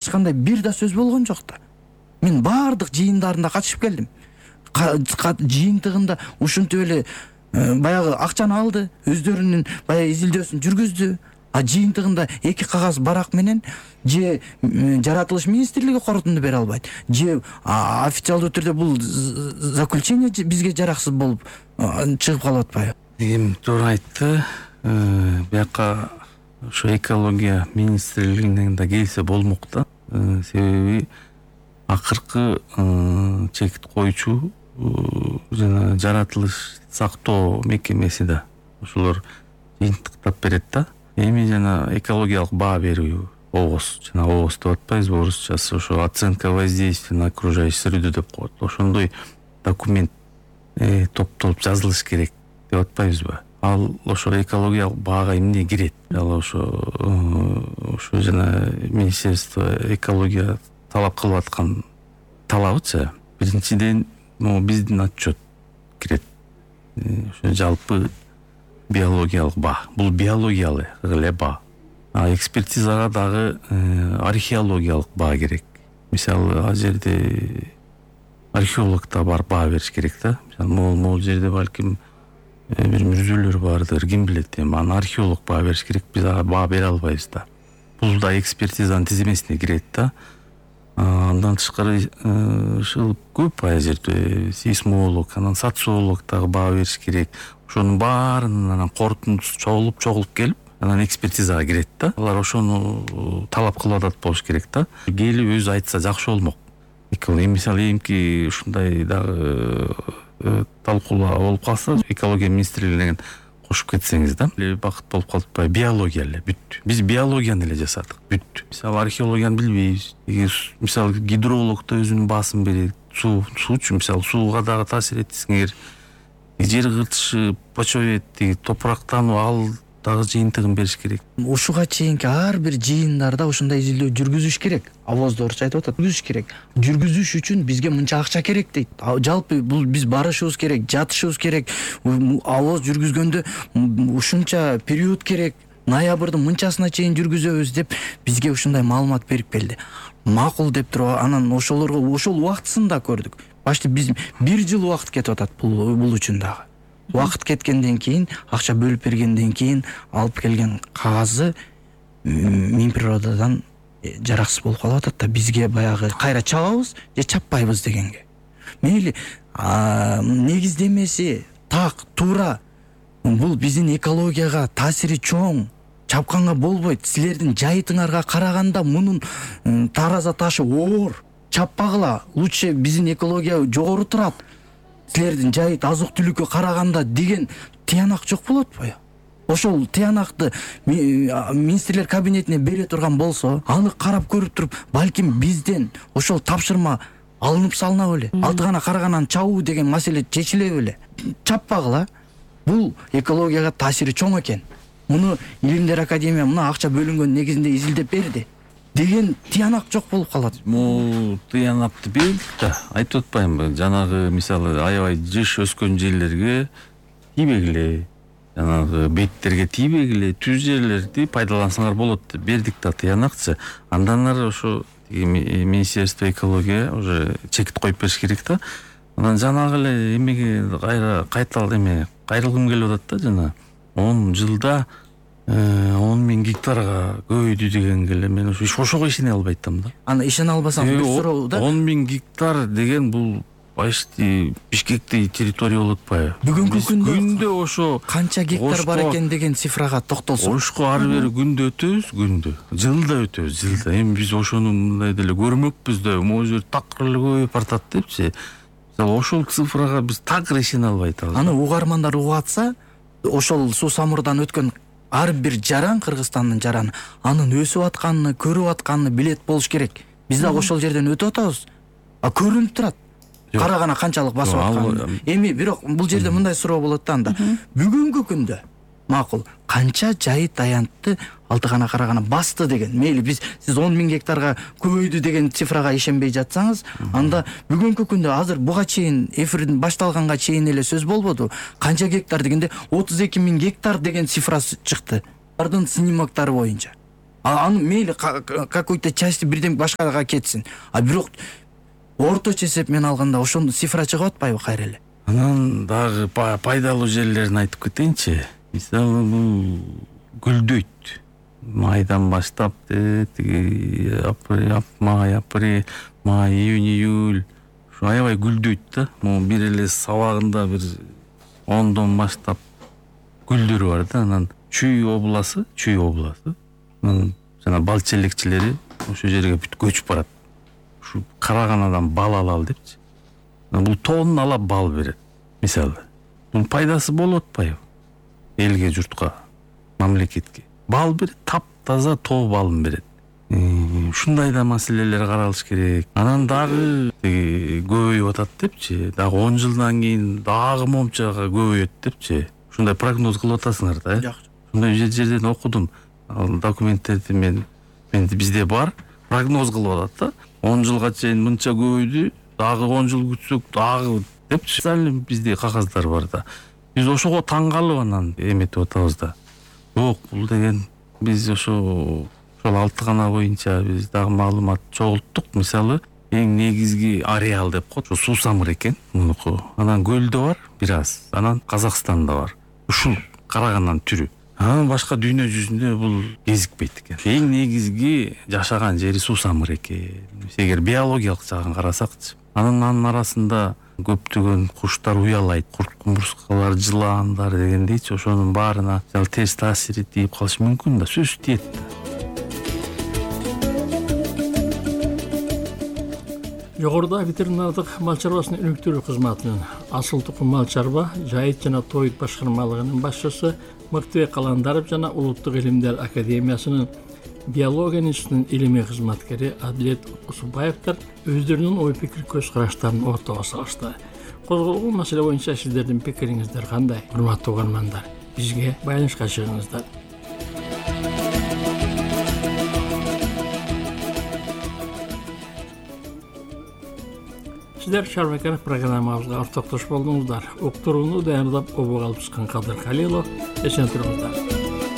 эч кандай бир да сөз болгон жок да. Мен баардык жыйындарына катышып келдим. Жыйынтыгында ушинтип эле баягы акчаны алды, өздөрүнүн баягы изилдөөсүн жүргүздү. А жыйынтыгында 2 кагаз барак менен же жаратылыш министрлиги корутунду бере албайт, же официалдуу түрдө бул заключение бизге жараксыз болуп чыгып калып атпайбы? Эми туура айтты. Бияка ошо экология министрлигинен да келсе болмок да. Себеби акыркы чекит коюучу жана жаратылыш сактоо мекемеси да ошолор жыйынтыктап берет да. Эми жана экологиялык баа берүү ОВОС, жана ОВОС деп атпайбызбы орусчасы, ошо оценка воздействия на окружающую среду деп коет. Ошондой документ топтолуп жазылыш керек деп атпайбызбы? Ал ошо экологиялык баага эмне кирет? Ал ошо жана Министерство экология талап кылып аткан талабычы. Биринчиден, биздин отчет кирет. Ошо жалпы биологиялык баа. Бул биологиялык эле баа. А экспертизага дагы археологиялык баа керек. Мисалы, ал жерде археолог да бар баа бериш керек да. Могул жерде балким бир мүрзөлөр бардыр, ким билет. Эми археолог баа бериш керек. Биз баа бере албайбыз да. Бул да экспертизанын тизимесине кирет да. Андан тышкары ушул көп ай жерде сейсмолог, анан социолог дагы баа бериш керек. Ошонун баарынын анан корутундусу чогулуп келип, анан экспертизага кирет да. Алар ошону талап кылып атат болуш керек да. Келип өзү айтса жакшы болмок. Мисалы, эмки ушундай дагы талкуулаа болуп калса, экология министрлигинен кошуп кетсеңиз да, бакыт болуп калып атпайбы? Биология эле бүт. Биз биологияны эле жасадык, бүт. Мисалы, археологияны билбейбиз. Мисалы, гидролог да өзүнүн баасын берет. Суучу, мисалы, сууга дагы таасир этсеңер, жер кыртышы, почве топурактануу, ал дагы жыйынтыгын бериш керек. Ушуга чейинки ар бир жыйындарда ушундай изилдөө жүргүзүш керек. Авозду орусча айтып атат. Жүргүзүш керек. Жүргүзүш үчүн бизге мынча акча керек дейт. Жалпы бул биз барышыбыз керек, жатышыбыз керек. Авоз жүргүзгөндө ушунча период керек. Ноябрдын мынчасына чейин жүргүзөбүз деп бизге ушундай маалымат берип келди. Макул деп туруп, анан ошол убактысын да көрдүк. Башты биз 1 жыл убакыт кетип атат бул үчүн дагы. Убакыт кеткенден кийин, акча бөлүп бергенден кийин алып келген кагазы Минприродадон жараксыз болуп калып атат да. Бизге баягы кайра чабабыз же чаппайбыз дегенге. Мейли негиздемеси так, туура. Бул биздин экологияга таасири чоң. Чапканга болбойт. Силердин жайытыңарга караганда мунун тараза ташы оор. Чаппагыла, лучше биздин экология жогору турат. Силердин жайыт азык-түлүккө караганда деген тыянак жок болот атпайбы? Ошол тыянакты министрлер кабинетине бере турган болсо, аны карап көрүп туруп, балким бизден ошол тапшырма алынып салына беле. Алтыгана караганан чабуу деген маселе чечиле беле. Чаппагыла. Бул экологияга таасири чоң экен. Муну Илимдер академия мына акча бөлүнгөн негизинде изилдеп берди деген тыянак жок болуп калат. Могу тыянакты бердик да, айтып атпаймынбы? Жанагы мисалы аябай жыш өскөн жерлерге тийбегиле, жанагы беттерге тийбегиле, түз жерлерди пайдалансаңар болот деп бердик да тыянакчы. Андан ары ошо Министерство экология уже чекит коюп бериш керек да. Анан жанагы эле эмеге кайрылгым келип атат да, жана 10 жылда 10.000 гектарга көбөйдү дегенге эле мен ошого ишене албайтам да. Аны ишене албасаң бир суроо да. 10.000 гектар деген бул почти Бишкектей территория болот атпайбы? Бүгүнкү күндө ошо канча гектар бар экен деген цифрага токтолсок. Ошко ары бери күндө өтөбүз, жылда өтөбүз, жылда. Эми биз ошону мындай деле көрмөкпүз да, могу жер такыр эле көбөйүп бартат депчи. Ошол цифрага биз такыр ишене албай атабыз. Аны угармандар угуп атса, ошол суу самурдан өткөн ар бир жаран, Кыргызстандын жараны, анын өсүп атканын, көрүп атканын билет болуш керек. Биз да ошол жерден өтүп атабыз. Көрүнүп турат. Карагана канчалык басып атканын. Эми бирок бул жерде мындай суроо болот да анда. Бүгүнкү күндө макул канча жайыт аянтты Алтыгана Карагана басты деген. Мейли сиз 10.000 гектарга көбөйдү деген цифрага ишенбей жатсаңыз, анда бүгүнкү күндө азыр буга чейин эфирдин башталганга чейин эле сөз болбоду. Канча гектар дегенде 32.000 гектар деген цифра чыкты. Алардын снимоктары боюнча. аны мейли какой-то части бирден башкага кетсин, а бирок орточо эсеп алганда ошондо цифра чыгып атпайбы кайра эле? Анан дагы пайдалуу жерлерин айтып кетейинчи. Мисалы бул гүлдөйт. Майдан баштап тиги апрель, май, июнь, июль ушу аябай гүлдөйт да. Могу бир эле сабагында бир 10дон баштап гүлдөрү бар да. Анан Чүй областы, жана бал челекчилери ошол жерге бүт көчүп барат. Ушу караганадан бал алалы депчи. Бул тонна алап бал берет. Мисалы, бул пайдасы болуп атпайбы? Элге, журтка, мамлекетке. Бал берет, таптаза тоо балын берет. Ушундай да маселелер каралыш керек. Анан дагы көбөйүп атат депчи. Дагы 10 жылдан кийин дагы момчага көбөйөт депчи. Ушундай прогноз кылып атасыңар да, Жакшы. Ушундай жерден окудум. Ал документтерди бизде бар. Прогноз кылып атат да. 10 жылга чейин мынча көбөйдү, дагы 10 жыл күтсөк дагы депчи. Бизде кагаздар бар да. Биз ошого таң калып анан эметип атабыз да. Жок, бул деген биз ошол 6 гана боюнча биз дагы маалымат чогулттук. Мисалы, эң негизги ареал деп коет, ошо суусамыр экен мунуку. Анан көлдө бар бир аз, анан Казакстанда бар. Ушул карагананын түрү. Анан башка дүйнө жүзүндө бул кезикпейт экен. Эң негизги жашаган жери суусамыр экен. Эгер биологиялык жагын карасакчы. Анын арасында көптөгөн куштар уялайт, курт кумурскалар, жылаандар дегендейчи, ошонун баарына терс таасири тийип калышы мүмкүн да, сөзсүз тиет да. Жогоруда ветеринардык мал чарбасынын өнүктүрүү кызматынын Асыл Тукум мал чарба, жайыт жана тоойт башкармалыгынын башчысы Мыктыбек Каландаров жана Улуттук илимдер академиясынын биология институтунун илимий кызматкери Адилет Усубаевдер өздөрүнүн ой пикир көз караштарын ортого салышты. Козголгон маселе боюнча сиздердин пикириңиздер кандай, урматтуу угармандар? Бизге байланышка чыгыңыздар. Сиздер Шарбаканов программабызга ортоктош болдуңуздар. Уктурууну даярдап обого алып чыккан Кадыр Калилов. Эсен туруңуздар.